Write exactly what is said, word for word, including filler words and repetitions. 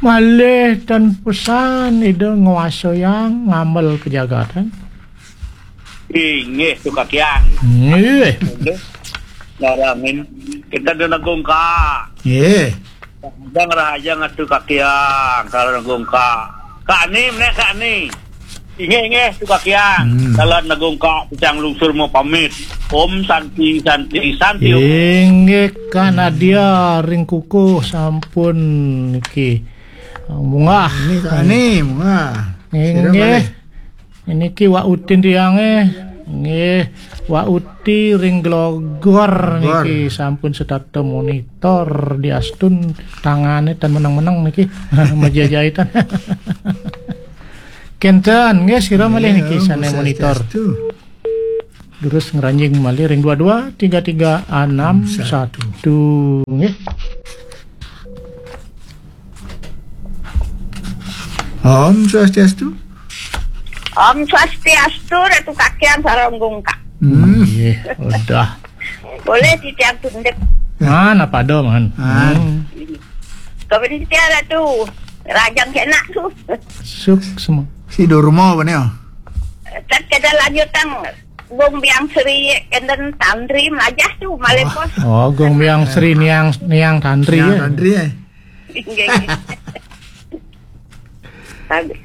Malih tan pesan Ida nguasayang ngamel pejagatan. Inggih, Tukakiang. Nggih. Larangin. Kita di Negungka. Nggih. Rahajang, rahajang atu Kakiang, kalau Negungka. Kak Ani, menek Kak Ani. Inggih, inggih, Tukakiang. Hmm. Kalau Negungka, pecang lungsur mau pamit. Om Santi, Santi, Santi. Inggih, Kak Nadia, ring kukuh sampun niki. Munggah. Ini Kak Ani, munggah. Inggih. Sira malih. Niki Wak Utin tiange. Nggih, Wak Uti ring Glogor niki sampun setata monitor diastun tangane tan meneng-meneng niki. Meja jahitan. Kenten, nggih, sira malih niki sane monitor. Swastiastu. Durus ngranjing malih ring dua dua tiga tiga enam satu. Nggih. Om Swastiastu. Om Swastiastu, Ratu Kakiang sareng Gungka. Hmm. Nggih, udah. Boleh titiang tunduk. Man, apa ada, man? Man. Hmm. Kapan titiang Ratu? Rajang kena tu. Suksma. Si Durma apa ni? Tat kada lanjutang. Gung Biang Sri enten Tantri melajah tu, malih pos. Oh, Gung Biang Sri niang, niang Tantri, Niang ya? Tantri, eh. Nggih, nggih. Bagus.